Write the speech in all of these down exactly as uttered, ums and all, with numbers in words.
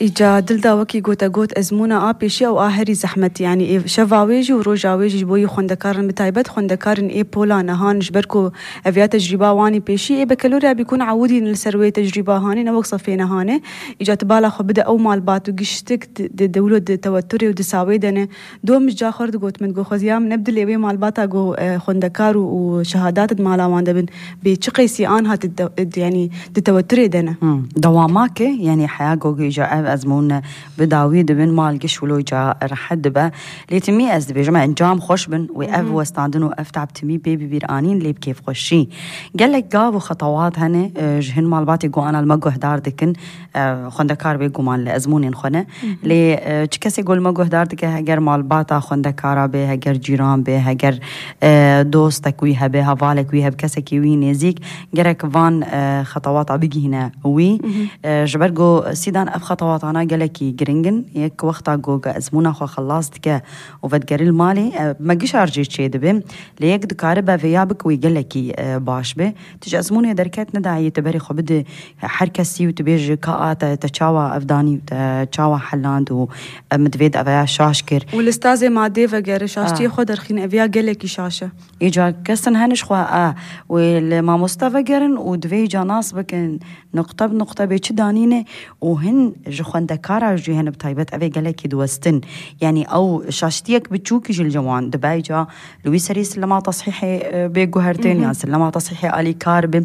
Îca dilda wekî gote got ezmûna a pêşî ew a herî zehmet, yanî ê şeva wê jî û roja wê jî ji bo yî xwendekarin, bi taybet xwendekarên ê pola nehan, ji ber ku ev ya tecrîba wanî pêşî ê bekelorya bîkun ewidîn li ser wê tecrîba hanê, ne wek sefê nehanê. Îca tu bala xwe bide ew malbat û giştik di, di dewlo di teweturê û di sawê de ne. Dom ji ca xwe re digot min, digot xweziyam ne bi dilê wê malbata ku, e, xwendekar û, û şehadat di mala wan de bin. Bê çi qeysî anha di de-, di, yanî di teweturê de ne. Hmm. Dewama ke, yanî heya gogê ca ev ezmûn bi dawî dibin, mal giş wilo ca rehet dibe. Lê timî ez dibêjim, encam xweş bin wê ev Hı hı. westandin û ev tab timî pê bi bîr anîn lê bi kêfxweşî. Gelek gav û xetewat hene, e, ji hin malbatê ku ana li me guhdar dikin, e, xwendekar bê guman li ezmûnên xwe ne. Hı hı. Lê, e, çi kesê ku li me guhdar dike, heger malbata xwendekara bê, heger cîran bê, heger, e, dostek wî hebe, hevalek wî hebe, kesekî wî nêzîk, gerek van, e, xetewata bigihîne wî. Hı hı. E, ji ber ku Sîdan ev xetewatana gelekî giring in. Yek wexta ku ezmûna xwe xelas dike û vedigerî li malê, e, me gişar jê çêdibe. Lê yek dikaribe vêya bike wê gelekî, e, baş be. Tu ji ezmûnê derket nedayê tu berê xwe bide her kesî û tu bêjî ka a te, te çawa ev danî, te çawa heland û, e, min divê de ev ya şaş kir. Û li stazê madê vegere şaştiyê Ah. xwe derxîne, ev ya gelekî şaş e. Îca kesin hene ji xwe a wê li mamoste vegerin û divê îca nas bikin nuqte bi nuqte bê çi danîne û hin ji xwendekara jî hene bi taybet ev ê gelekî diwestin. Yanî ew şaştiyek biçûkî jî li wan dibe îca li wî serî silema tesihê, e, bê guhertin Hı hı. yan silema tesihê alîkar bi.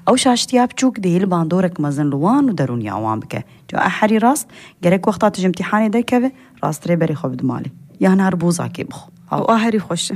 Ew şaştiya biçûk dihê li bandorek mezin li wan û derûniya wan bike. Ca a herî rast, gerek wexta tu ji imtîhanê derkeve, rasttirê berê xwe bide malê. Yan her bûzakê bixwe. Ew a herî xweş e.